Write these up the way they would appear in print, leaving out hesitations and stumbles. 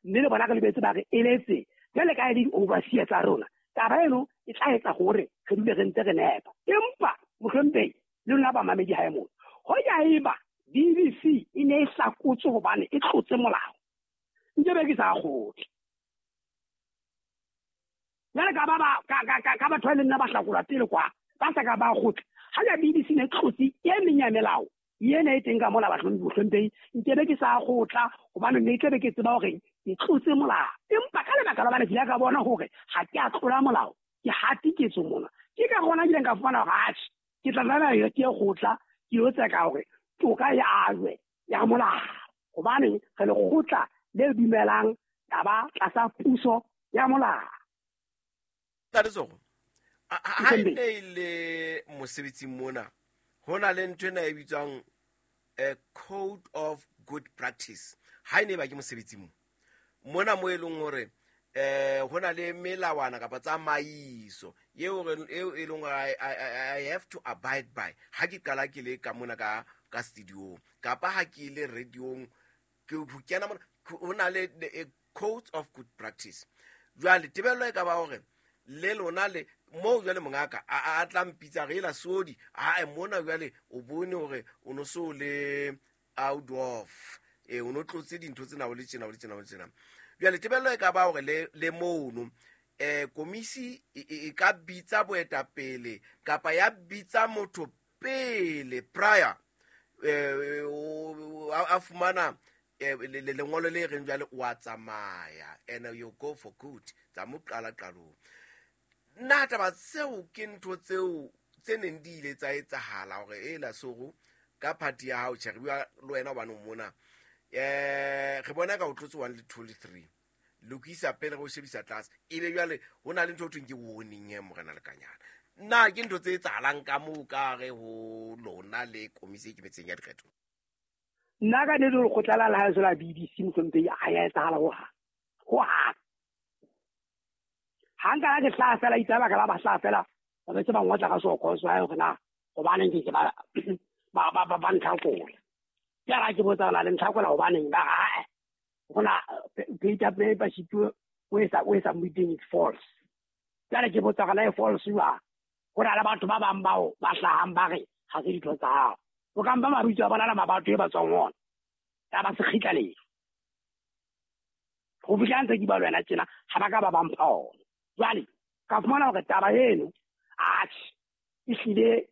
Mme le bona re lebetse ba re eletse jwale ka e le di-overseer tsa rona. Taba eno e tla etsa hore re dule re ntse re nepa. Empa mohlomphehi le lona bamamedi hae mona, hoja eba BBC e ne e hlakotswe hobane e tlotse molao, nkebe ke sa kgotle. Jwale ka ba ka batho ba e leng nna ba hlakolwa pele kwa, ba sa ka ba kgotla. Ha ja BBC ne e tlotse e meng ya melao ena e teng ka mola bahlomphehi, nkebe ke sa kgotla hobane ne tlabe ke tseba hore ke tlotse molao. Empa ka lebaka la hobane ke ile ka bona hore ha ke a tlola molao, ke hatiketswe mona. Ke ka gona ke ileng ka fumana hore atjhe, ke tla tlameha ke ye kgotla, ke yo tseka hore toka e ajwe ya molao. Hobane re lekgotla le dumelang taba tlasa puso ya molao. Ntate Tsoko, ha e ne e le mosebetsing mona, ho na le ntho ena e bitswang a code of good practice. Ha e ne e ba ke mosebetsing mo mona mo e leng hore ho na le melawana kapa tsamaiso eo e leng hore I have to abide by ha ke qala ke le ka mona ka studio kapa ha ke le radiong, ke ho kena mona, ho na le codes of good practice. Jwale tebello e ka ba hore le lona le moo jwale mongaka a tla mpitsa re ela sodi, a mona jwale o bone hore o no so le out of, o no tlotse dintho tsena o le tjena o le tjena o le tjena. Jwale tebello e ka ba hore le mono komisi e ka bitsa boetapele kapa ya bitsa motho pele prior a fumana lengolo le reng jwale o a tsamaya and you go for good, tsa mo qala qalong. Nna taba tseo ke ntho tseo tse neng di ile tsa etsahala hore e la soro ka party ya hao, tjhe, re bua le wena hobane o mona. Re bona ka o tlotse 1 le 2 le 3, lokisa pele re o shebisa tlase, ebe jwale ho na le ntho ho thweng ke warning he morena Lekanyana. Nna ke ntho tse etsahalang ka moo ka re ho lona le komisi e ikemetseng ya dikgetho? Nna ka nnete lekgotla la lehae la BBC mohlomphehi ha ya etsahala hohang. Hohang. Ha nka ke hlaha fela, itse baka la ba hlaha fela, ba betse ba ngotla ka soko so ha hore na hobaneng ke ba ntlhakola. Ke ra ke botsa la le ntlhakola hobaneng ba re, ae, hona data paper sheet o e sa, o e sa meeting it's false. Jwale ke botsa hore na e false jwang? Ho na le batho ba bang bao ba hlahang ba re ha se ditho tsa hao. O ka mpa mabitso a bona le mabatho e ba tswang ona. Ya ba se kgitla letho. Ho fihla ntse ke bua le wena tjena, ha ba ka ba ba mpha ona. Jwale ka fumana hore taba eno, atjhe, ehlile,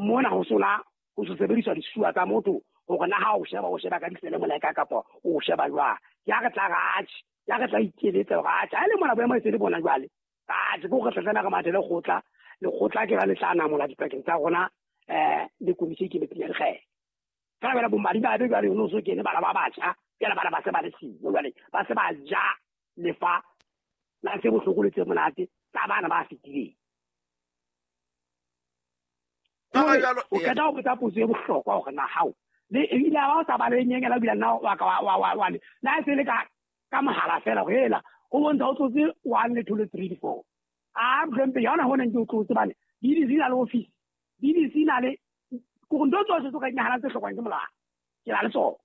mona ho sona ho se sebediswa disuwa tsa motho hore na ha o sheba, o sheba ka ditsele moleka kapa o sheba jwang. Ya re tla re atjhe, ya re tla ikeletsa hore atjhe, ha e le mona boemo e se le bona jwale. Atjhe, ke hore re tla tlameha re mathe lekgotla, lekgotla ke ba le tla namola dipakeng tsa rona, le komisi e ikemetseng ya dikgetho. Fela jwale bomadimabe jwale ho no so kene bana ba batjha, jwale bana ba se ba le siyo, jwale ba se ba ja lefa la tse bohloko le tse monate tsa bana ba fetileng. Ba jalo, O qeta ho botsa potso e bohlokwa hore na hao le ebile ha o sa ba le nyenyela, ebile nna wa ka wa le, na e se le ka mohala fela hore hela, o bontsha o tlotse 1 le 2 le 3 le 4. A mohlomphehi, ha hona ho neng ke o tlotse bane BBC na le office, BBC na le ko ntho tsohle tse ka dinahanang tse hlokwang ke molao, ke na le tsona.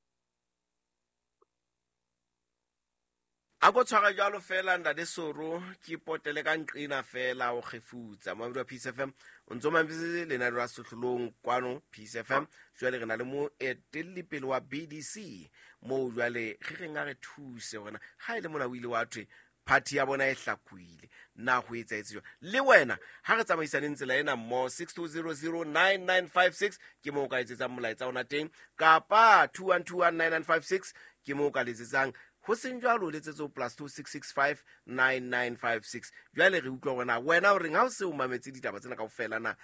A ko tshwara jwalo fela ntate Soro, ke potele ka nqena fela o kgefutsa. Moamedi wa Peace FM, o ntso mametse lenaneo la Sehlohlolong kwano Peace FM. Jwale re na le moetelli pele wa BDC moo jwale re reng a re thuse hore na ha e le mona o ile wa thwe party ya bona e hlakohile, na ho etsahetse jwang? Le wena ha re tsamaisaneng tsela ena mmoho, 62009956 ke moo o ka etsetsang molaetsa ona teng, kapa 21219956 ke moo o ka letsetsang. Ho seng jwalo, o letsetse ho plus 26659956. Jwale re utlwa hore na wena o reng ha o se o mametse ditaba tsena kaofela, na,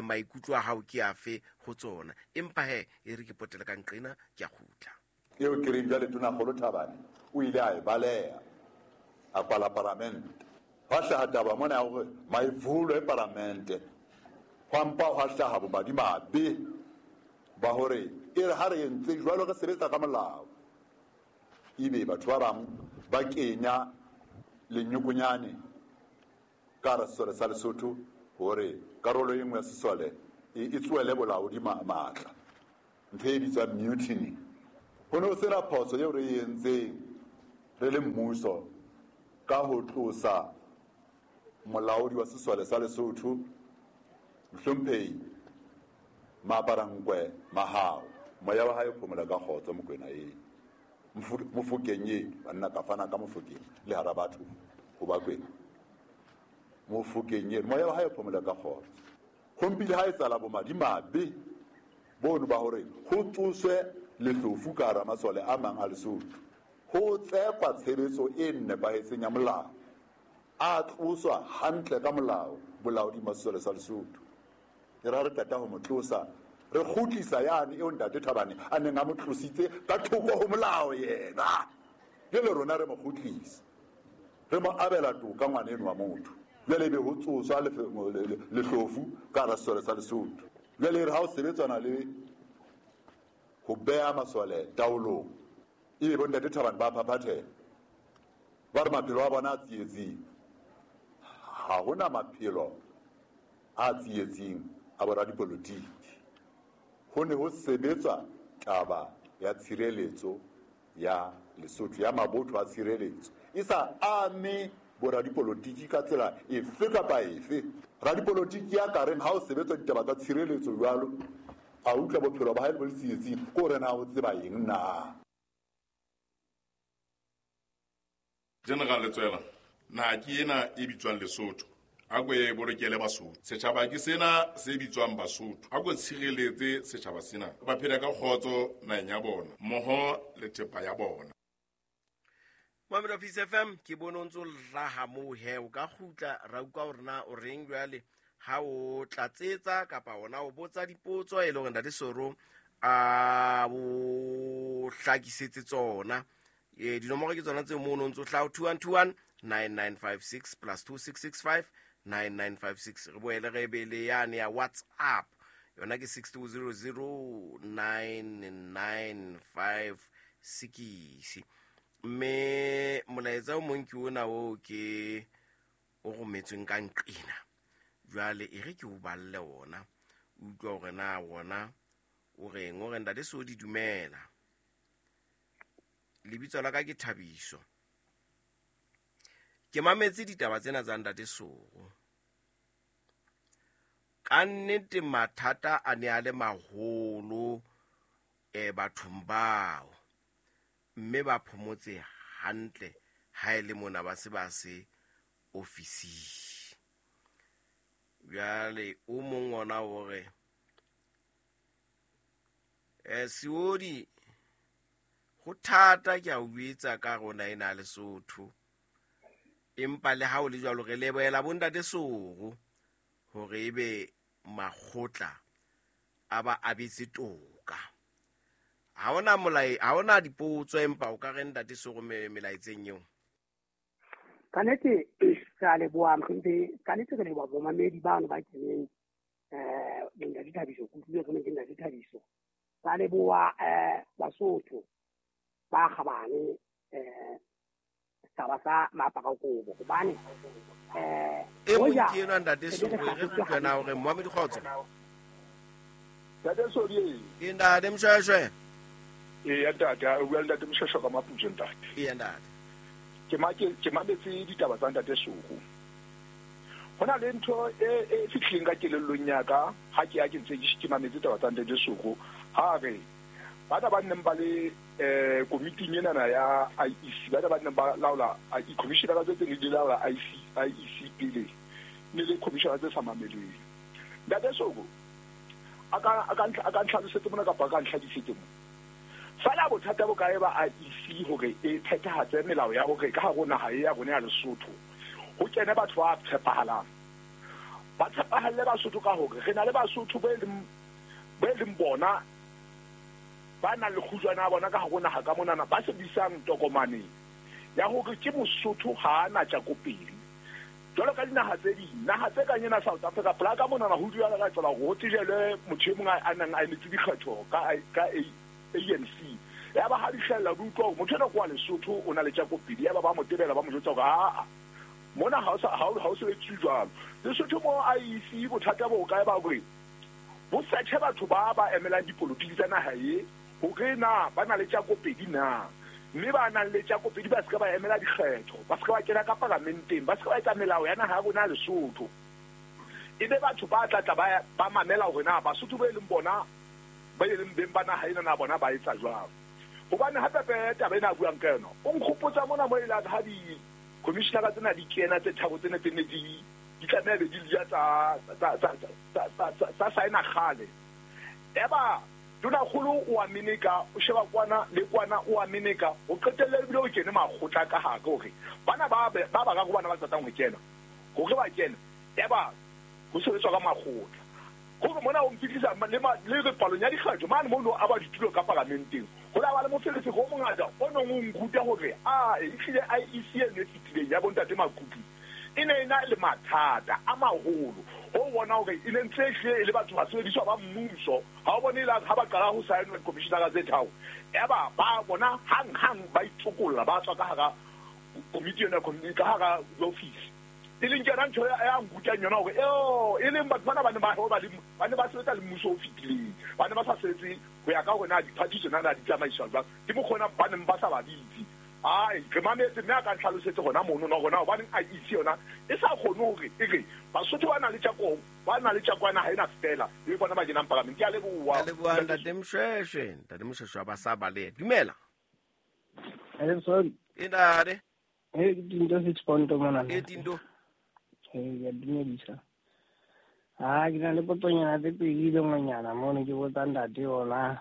maikutlo a hao ke afe ho tsona. Empa he, e re ke potele ka nqena, ke a kgutla. Eo ke reng jwale Tonakgolo Thabane o ile a e baleha, a kwala paramente. Hwa hlaha taba mona ya hore maivulwe paramente, hwa mpa hwa hlaha bomadimabe ba hore e re ha re entse jwalo re sebetsa ka molao, ebe batho ba bang ba kenya lenyokonyane ka hara sesole sa Lesotho hore karolo e nngwe ya sesole e tsoele bolaodi matla, ntho e bitswang mutiny. Ho ne ho sena phoso eo re e entseng. re le mmuso ka ho tlosa molaodi wa sesole sa Lesotho Mohlomphehi Maaparankoe Mahao. Moya wa hae o phomola ka kgotso Mokwena e Mofokeng e banna ka fana ka Mofokeng le hara batho ho Bakwena. Mofokeng e moya wa hae o phomola ka kgotso. Ho mpile ha etsahala bomadimabe bono ba hore ho tsoswe lehlofu ka hara masole a mang a Lesotho. Ho tsekwa tshebetso e nepahetseng ya molao. A tloswa hantle ka molao bolaoding ba sesole sa Lesotho. E re ha re qeta ho mo tlosa, re kgutlisa yane eo Ntate Thabane a neng a mo tlositse ka thoko ho molao yena. Jwale rona re mo kgutlisa, re mo abela toka ngwana eno wa motho. Jwale ebe ho tsoswa lehlofu ka hara sesole sa Lesotho. Jwale e re ha o sebetswana le ho beha masole taolong, ebe bo Ntate Thabane ba phaphathela, ba re maphelo a bona a tsietsing. Ha hona maphelo a tsietsing a boradipolotiki. Ho ne ho sebetswa taba ya tshireletso ya Lesotho, ya mabotho a tshireletso, e sa ame boradipolotiki ka tsela efe kapa efe. Radipolotiki ya ka reng ha o sebetswa ditaba tsa tshireletso jwalo, a utlwa bophelo ba hae bo le tsietsing, ke hore na o tseba eng na? General Letsoela, naha ke ena e bitswang Lesotho, a ko e bolokele Basotho. Setjhaba ke sena se bitswang Basotho, a ko tshireletse setjhaba sena. Ba phele ka kgotso naheng ya bona, mmoho le thepa ya bona. Mamelo Peace FM, ke bone o ntse o raha moo he, o ka kgutla ra utlwa hore na o reng jwale ha o tlatsetsa kapa ona o botsa dipotso e le hore Ntate Soro a o hlakisetse tsona. Dinomoro ke tsona tseo mono ntse o hlaha 2121 9956 plus 2665 9956. Re boele re be le yane ya WhatsApp, yona ke 6200 9956. Mme molaetsa o mong ke ona oo ke o rometsweng ka nqena. Jwale e re ke o balle ona, o utlwa hore na wona o reng. O re, Ntate Sodi, dumela. Lebitso la ka ke Thabiso. Ke mametse ditaba tsena tsa Ntate Soro. Ka nnete mathata a ne a le maholo bathong bao, mme ba phomotse hantle ha e le mona ba se ba se ofising. Jwale o mong ona o re, Seodi, ho thata ke a o jwetsa ka rona ena Lesotho, empa le ha o le jwalo re lebohela bo Ntate Soro hore ebe makgotla a ba abetse toka. Ha hona molai, ha hona dipotso, empa o ka re Ntate Soro melaetseng eo. Ka nnete re a leboha Mohlomphehi, ka nnete re leboha bomamedi bano ba keneng, Ntate Thabiso, ke utlwile re ke Ntate Thabiso. Ra leboha Basotho ba kgabane, setjhaba sa Maaparakobo, hobane e mong ke enwa Ntate Soro, re utlwe na hore Mohammed Kgotso. Ntate Sodi. Ke Ntate Mshweshwe. Eya ntate, o bua le Ntate Mshweshwe ka Maputso ntate. Eya ntate. Ke mametse ditaba tsa Ntate Soro. Ho na le ntho e fihlileng ka kelellong ya ka ha ke ya ke ntse ke mametse taba tsa Ntate Soro. Ha re bana ba neng ba le komiting enana ya IEC, bana ba neng ba laola commissionera tse tse di laola IEC pele, ne le commissionera tse sa mameleng. Ntate Soro a ka ntlhalosetse mona kapa a ka ntlhakisetse mona. Fela bothata bo kae ba IEC hore e phethahatse melao ya hore ka hare ho naha e ya rona ya Lesotho ho kene batho ba tshepahalang. Ba tshepahalle Basotho ka hore re na le Basotho bo e leng bona ba nang le kgujwana ya bona ka hare ho naha ka monana, ba sebedisang tokomane ya hore ke Mosotho ha a na tjakopedi. Jwalo ka dinaha tse ding, naha tse kang ena South Africa, pela ka monana ho dula ka tsela hore ho tsejelwe motho e mong a nang a emetse dikgetho ka ANC. Ya ba ha di hlahella di utlwa hore motho enwa ke wa Lesotho, o na le tjakopedi. Ya ba ba mo tebela, ba mo jwetsa hore aa mona ha o sebetse jwalo. Lesotho mo IEC bothata bo kae ba hore bo search batho ba ba emelang dipolotiki tsa naha e hore na ba na le tjakopedi na. Mme ba nang le tjakopedi ba se ka ba emela dikgetho, ba se ka ba kena ka paramenteng, ba se ka ba etsa melao ya naha ya rona Lesotho. E be batho ba tla tla ba mamela hore na Basotho ba e leng bona ba e leng beng ba naha ena na bona ba etsa jwang. Hobane hape taba ena a buang ka yona o nkgopotsa mona mo e leng ha di-commissionera tsena di kena tse tharo tsene tse ne di tlameha be di lia tsa saena kgale. Eba tonakgolo o a meneka, o sheba kwana le kwana o a meneka, o qetelle ebile o kene makgotla ka hare hore bana ba bararo bana ba qetang ho kena hore ba kene, eba ho sebetswa ka makgotla. Hore mona o mfihlisa le palong ya dikgetho mane mono a ba ditulo ka paramenteng, ho la ba le moferefere o mongata o nong o nkuta hore a ehlile IEC eno e fetileng ya bontate Makupi e ne e na le mathata a maholo. Ho bona hore e ne ntse ehlile e le batho ba sebediswa ba mmuso. Ha o bone e le ha ba qala ho saenwa di-commissionera tse tharo, eba ba bona hang-hang ba itsokolla, ba tswa ka hara komiti ena, ka hara office. E leng ke yona ntho ya nkutang yona hore e leng batho bana ba ne ba sebetsa le mmuso o fetileng, ba ne ba sa sebetse ho ya ka hore na diphathi tsona na di tsamaiswa jwang. Ke mokgona ba neng ba sa ba bitse. Ai, re mametse mme a ka ntlhalosetse hona mono no hona hobaneng IEC yona e sa kgone hore e re Basotho ba na le tjako, ba na le tjakwana ha ena fela e bona ba kenang paramente. Ke a leboha. A leboha Ntate Mshweshwe. Ntate Mshweshwe ba sa bale. Dumela. Hello sorry. E ntate. Eh Tindo 6 point mona. E Tindo. Eh ya dumedisa. Ah, ke na le potsonyana tse pedi le ngwanyana mono ke botsa ntate yona.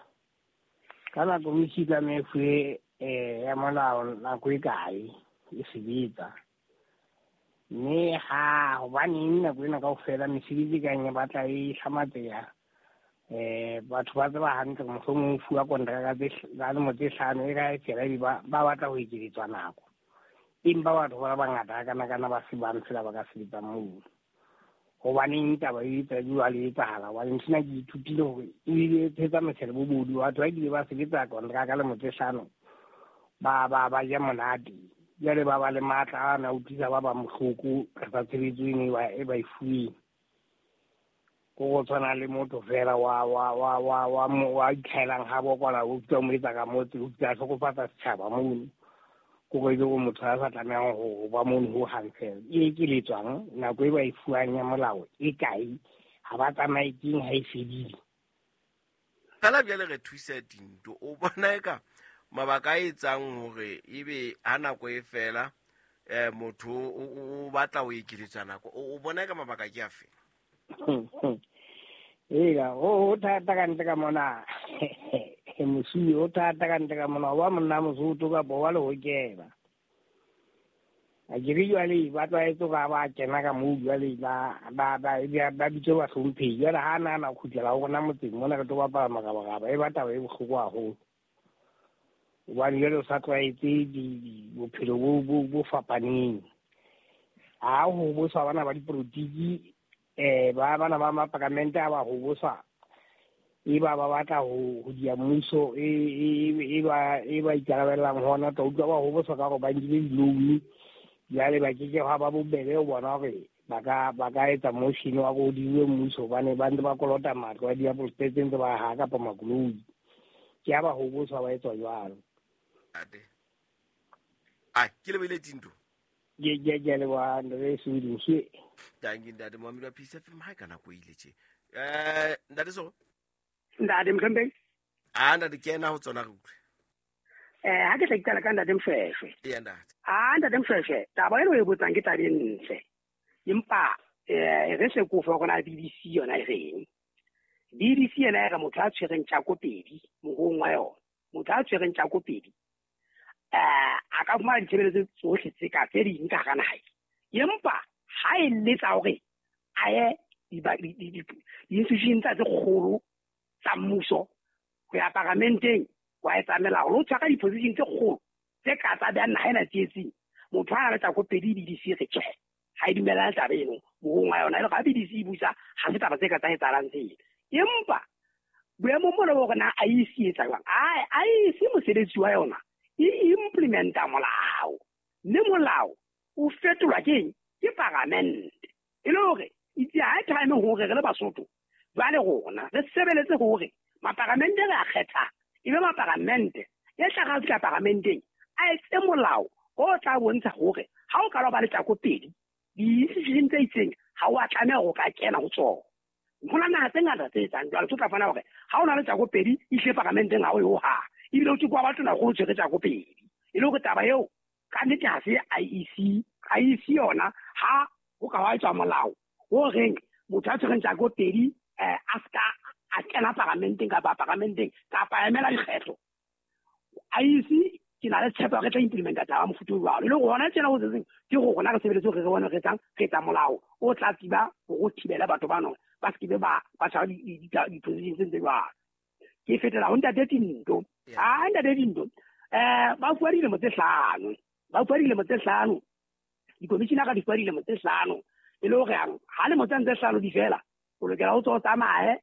Ka nako mishika mefuwe ya molao nako e kae e sebetsa. Mme ha hobaneng nako ena kaofela mesebetsi e kang e batla e hlamatseha, batho ba tseba hantle mohlomong o fuwa kontraka tsa lemo tse hlano e ka e fela ebe ba batla ho ekeletswa nako. Empa batho ba bangata kana ba se bang fela ba ka sebetsa moo. Hobaneng taba e tsa jwale e etsahala? Hobane nthwena ke ithutile hore ebile e thetsa motshelo bobodu. Batho ba kile ba sebetsa kontraka lemo tse hlano ba ja monate. Jwale ba ba le matla a na utlwisa ba bang bohloko ka tshebetso eno e ba e fuweng. Ko go tshwana le motho fela wa itlhaelang ha bo kwana o utlwa mo etsa ka motse, o utlwa hlokofatsa setjhaba mono. Ko go ile go motho a sa tlamehang ho ba mono ho hang fela. E ekeletswang nako e ba e fuwang ya molao e kae, ha ba tsamaye keng ha e fedile. Fela bjale re thusa Dinto, o bona eka mabaka a etsang hore ebe ha nako e fela motho o batla ho ekeletswa nako, o bona eka mabaka ke afe? Ega o thata ka ntle ka mona. Mosuwe o thata ka ntle ka mona, wa monna Mosotho kapa wa lehokela. A ke re jwale ba tlwaetse hore ha ba kena ka moo jwale ba bitswe bahlomphehi. Jwale ha nahana ho kgutlela ho rona motseng mona re tlo bapala morabaraba, e ba taba e bohloko haholo. Hobane jwale o sa tlwaetse bophelo bo fapaneng. Ha ho boswa bana ba dipolotiki, ba bana ba maparamente ha ba ho boswa, e ba ba batla ho dia mmuso e ba ikarabellang hona, tla utlwa ba ho boswa ka hore ba nkile di-loan. Jwale ba keke hwa ba bobebe ho bona hore ba ka etsa motion wa ho diwe mmuso, hobane ba ntse ba kolota matlo a diapole tse ntse ba ha kapa makoloi. Ke ha ba ho boswa ba etswa jwalo. Ai, ke lebile Tinto. Ke leboha Ntate Sudi. Dankie Ntate Mohammed wa Peace FM ha ka nako ile tje. Ntate so. Ntate Mthombe. Ah ntate kena ho tsona re utlwe. Ha ke tla iqala ka Ntate Mshweshwe. Ee ntate. Ah Ntate Mshweshwe, taba eno e botsang ke taba e ntle. Empa re se ko fa rona BBC yona e reng. BBC yena e re motho a tshwereng tjako pedi mohong wa yona. Motho a tshwereng tjako pedi a ka fumana ditshebeletso tsohle tse ka tse ding ka hara naha. Empa ha e letsa hore a ye di-institution tsa tse kgolo tsa mmuso ho ya paramenteng, wa etsa melao le ho tshwara di-position tse kgolo tse ka tsa behang naha ena tsietsing. Motho ha a le tjako pedi BBC re tjhe, ha e dumellane taba eno mohong wa yona. E le ha BBC e busa ha se taba tse ka tsa etsahalang tsena. Empa boemong bona bo hore na IEC etsa jwang, IEC mosebetsi wa yona e implementa molao, mme molao o fetolwa keng? Ke paramente. E le hore itse ha e time hore re le Basotho jwale rona re sebeletse hore maparamente re a kgetha, ebe maparamente e tla ra fihla paramenteng a etse molao o tla bontsha hore ha o ka ba le tjako pedi di-institution tse itseng ha o a tlameha ho ka kena ho tsona. Ho na naha tse ngata tse etsang jwalo, so tla fana hore ha o na le tjako pedi ihle paramenteng ha o yo ha ebile o tse kwa batho na go tshwere tjako pedi e le hore taba eo ka nnete ha se IEC IEC yona ha ho ka wa etswa molao o reng motho a tshwereng tjako pedi a ska a kena paramenteng kapa paramenteng kapa emela dikgetho. IEC ke na le tshepo re tla implementa taba mofuta o jwalo e le hore hona tjena ho setseng ke gore rona re sebeletse hore re bone re etsang re etsa molao o tla tsiba hore o thibele batho bano ba se ke ba tshwara di-position tse ntse jwalo. Ke fetela ho ntate Tinto. Ha ntate Tinto ba fuwa dilemo tse hlano, ba fuwa dilemo tse hlano, di-commissioner di fuwa dilemo tse hlano e le hore ha lemo tse hlano di fela o lokela o tswa o tsamaye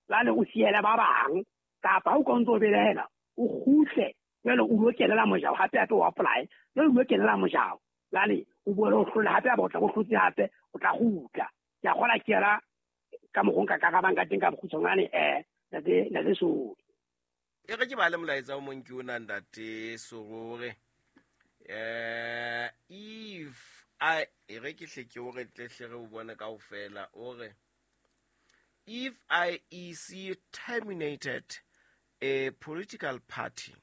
jwale o siele ba bang kapa o ka ntso o belaela o kgutle jwale o lo kenela mojao hape hape o apply jwale o lo kenela mojao jwale o boele o hlole hape ba o tla o hlotse hape o tla kgutla. Ke a kgola ke yona ka mokgwa o nka karabang ka teng ka bokgutshwanyane ntate Sori. E re ke ba le molaetsa o mong ke ona ntate Sori if I e re ke hle ke o re tle hle re o bone kaofela o re if IEC terminated a political party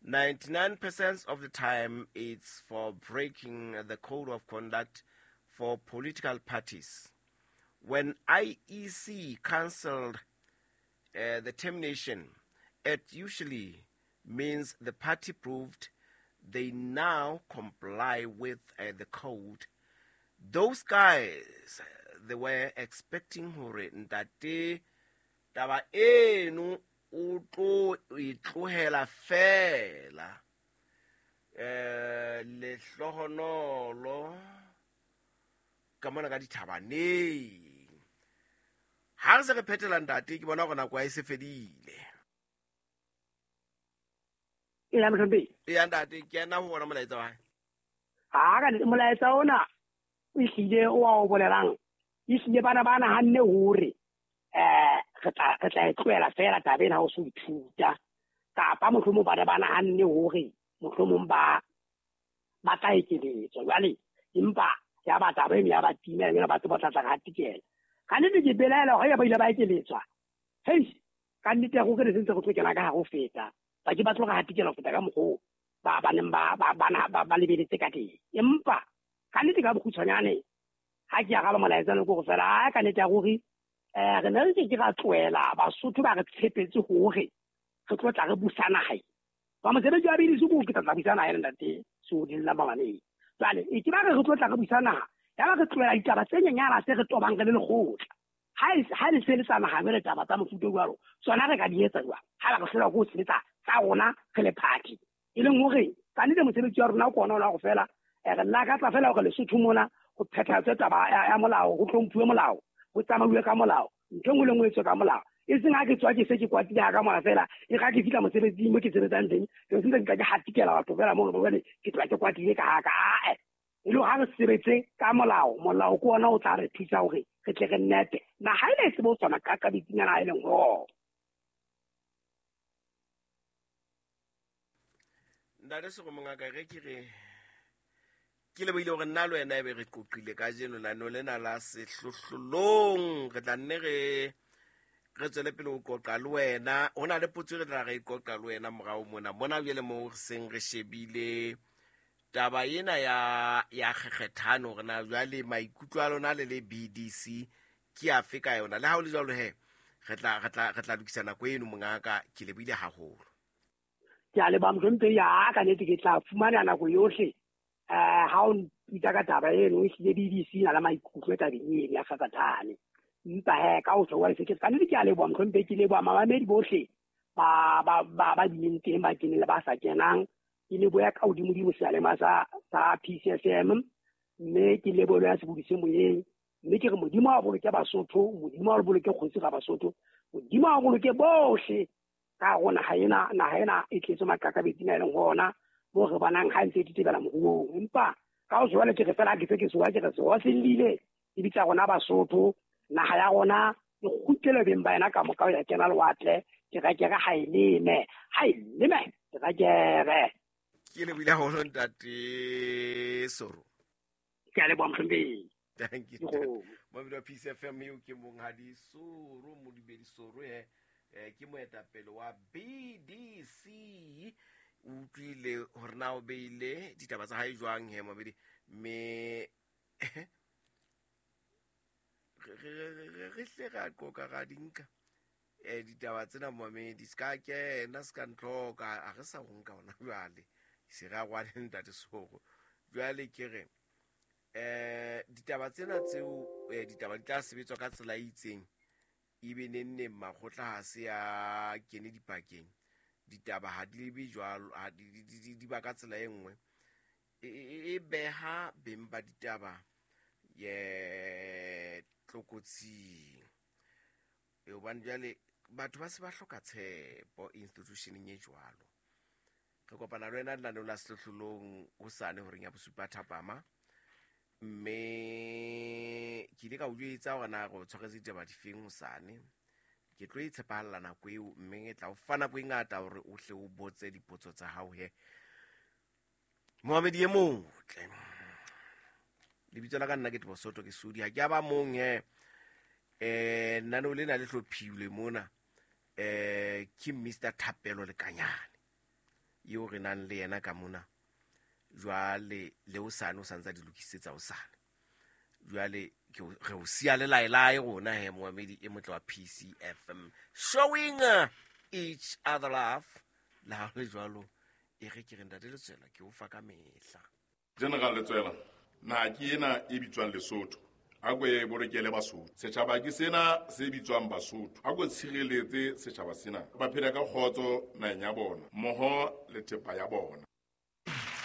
99% of the time it's for breaking the code of conduct for political parties. When IEC cancelled the termination, it usually means the party proved they now comply with the code. Those guys, they were expecting hore ntate taba eno o tlo e tlohela fela. Lehlohonolo ka mona ka dithabaneng. Ha re se re phethela ntate ke bona hore nako ha e se fedile. E la mohlomphehhi. Eya ntate ke ena ho bona molaetsa wa hae. Ha ka molaetsa ona o ehlile o a o bolelang ehlile bana ba nahanne hore re tla e tlohela fela taba ena ha o so ithuta kapa mohlomong bana ba nahanne hore mohlomong ba tla ekeletswa jwale empa ya ba taba eno ya ba timela ena batho ba tla tla hatikela. Ka nnete ke belaela hore ya ba ile ba ekeletswa hei ka nnete go re sentse go tlo kena ka hare ho feta ba ke ba tlo hatikela ho feta ka mokgwa ba ba neng ba lebeletse ka teng. Empa ka nnete ka bokgutshwanyane ha ke araba molaetsa no ke go fela ka nnete ya gore re ne re ke ke ra tlohela Basotho ba re tshepetse hore re tlo tla re busa naha. Ba mosebetsi wa BDC ko ke tla busa naha ena ntate Sodi la mamaneng. Jwale e ke ba re tlo tla re busa naha ya ba re tlohela ditaba tse nyenyana tse re tobang re le lekgotla. Ha le se le sa naha le taba tsa mofuta o jwalo tsona re ka di etsa jwang ha ba re hlola go sebetsa tsa rona re le party e leng hore ka nnete mosebetsi wa rona ke ona o la go fela re lakatsa fela hore Lesotho mona go phethatswe taba ya molao go hlomphuwe molao go tsamauwe ka molao ntho engwe le engwe e tswe ka molao e seng ha ke tswa ke se ke kwatile ha ka mona fela e ga ke fihla mosebetsing mo ke sebetsang teng ke sentse ke tla ke hatikela batho fela mo jwale ke tloha ke kwatile ka ha ka e le ha re sebetse ka molao molao ke ona o tla re thusa hore re tle re nepe naha ena e tsebe ho tshwana ka bitsinyana e leng ho. Ntate Sego mongaka re ke re ke lebohile hore nna le wena ebe re qoqile kajeno lano lena la sehlohlolong re tla nne re tswele pele ho qoqa le wena. Ho na le potso re tla re qoqa le wena morao mona mona jwale moo re seng re shebile taba ena ya kgekgethano hore na jwale maikutlo a lona le le BDC ke afe ka yona. Le ha ho le jwalo he re tla lokisa nako eno mongaka ke lebohile haholo. Ke a leboha mohlomphehhi ya ka nnete ke tla fumana nako yohle ha o mpitsa ka taba eno ehlile BDC na le maikutlo tabeng eno ya kgekgethane. Empa he ka ho tjho se ke ka nnete ke a leboha mohlomphehhi ke leboha mamamedi bohle ba bileng teng ba keneng le ba sa kenang. Ke leboha ka hodimodimo seyalemoya sa PCSM mme ke leboha ya sebodi se moyeng mme ke re Modimo a boloke Basotho, Modimo a boloke kgosi ga Basotho, Modimo a boloke bohle ka go naha ena e tletse maqakabetsing a e leng hona mo re bonang ha ntse e tetebela moruong. Empa ka ho jwale ke re fela ke se ke soa ke re sewa se llile e bitsa rona Basotho naha ya rona e kgutlele beng ba yena ka moka ho ya kena lewatle terekere ha e leme terekere. Ke lebohile haholo, Ntate Soro. Ke a leboha, mohlomphehi. Thank you. Dikgomo. Momamedi wa Peace FM, eo ke Monghadi Soro Modubedi Soro he, ke moetapele wa BDC. O utlwile hore na o beile ditaba tsa hae jwang he, momamedi, mme re hle ra qoka ra di nka ditaba tsena, momamedi. Se ka kena, se ka ntlhoka, a re sa ho nka hona jwale, se re a rwale Ntate Soro. Jwale ke re ditaba tsena tseo, ditaba di tla sebetswa ka tsela e itseng, ebe neng makgotla ha se a kene dipakeng, ditaba ha di be jwalo, ha di ba ka tsela e nngwe, e beha beng ba ditaba ye tlokotsing. Hobane jwale batho ba se ba hloka tshepo institutioneng e jwalo. Re kopana le wena lenaneong la Sehlohlolong hosane horeng ya 7 thapama, mme ke ile ka o jwetsa hore na re o tshwaretse ditaba difeng hosane. Ke tlo e tshepahalla nako eo, mme e tla o fa nako e ngata hore o hle o botse dipotso tsa hao he. Moamedi e motle, lebitso la ka nna ke Tebo Soto, ke Sodi, ha ke a ba mong he. Lenaneo lena le hlophilwe mona ke Mr Thapelo Lekanyane eo re nang le yena ka mona. Jwale le hosane o santsa di lokisetsa hosane. Jwale re o siya le laelae rona he, moamedi e motle wa PCFM, showing each other love. Le ha ho le jwalo, e re ke re Ntate Letswela ke o fa ka mehla. General Letswela, naha ke ena e bitswang Lesotho, a ko e bolokele Basotho. Setjhaba ke sena se bitswang Basotho, a ko tshireletse setjhaba sena, ba phela ka kgotso naheng ya bona mmoho le thepa ya bona.